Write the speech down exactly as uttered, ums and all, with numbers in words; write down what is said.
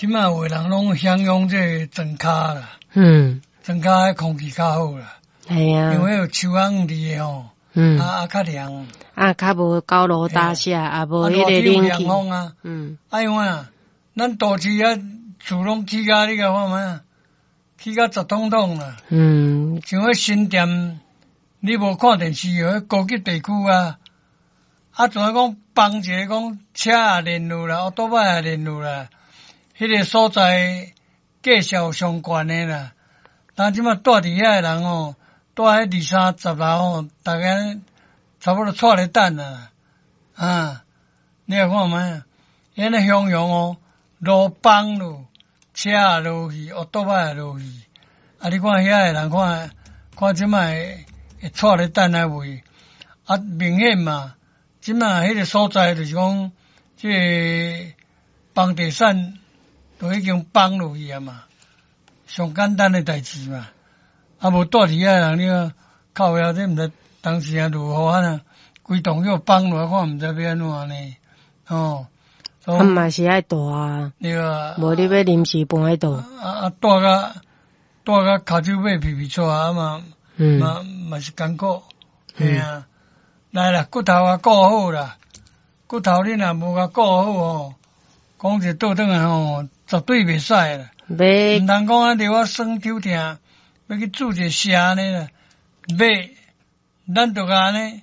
這馬有的人攏享用這个莊跤啦，嗯，莊跤的空氣較好啦，係啊，因為有樹仔佇的吼，嗯，啊啊較涼，啊較無高樓大廈，啊無彼個冷氣風啊，嗯，啊因為啊，咱都市啊厝攏起甲你共看覓啊，起甲雜統統啦，嗯，像彼新店，你無看電視，彼高級地區啊，啊，像講放一个講車也連路啦，歐多擺也連路啦，彼個所在價數上懸的啦。但這馬住佇遐的人吼，住彼二三十樓吼，逐家差不多掣咧等啊，啊，你來看覓啊？遐咧向陽哦，路崩落，車也落去，歐多擺也落去，啊，你看遐的人看，看這馬會會掣咧等啊未？啊，明顯嘛，這馬彼個所在就是講，這個房地產都已經崩落去啊嘛，上簡單的代誌嘛。啊，無住佇遐的人，你看靠腰這毋知當時啊落雨啊，規棟叫崩落來，看毋知欲按怎呢？哦，啊嘛是愛蹛啊，對啊，無你欲臨時搬去佗？啊啊，蹛甲蹛甲跤手尾皮皮掣啊嘛，嗯，嘛嘛是艱苦，嘿啊，來啦，骨頭啊顧好啦，骨頭你若無共顧好吼，講一倒轉來吼，絕對袂使啦。欲毋通講啊，著我酸抽疼，欲去注一個射按呢啦，欲，咱著共按呢，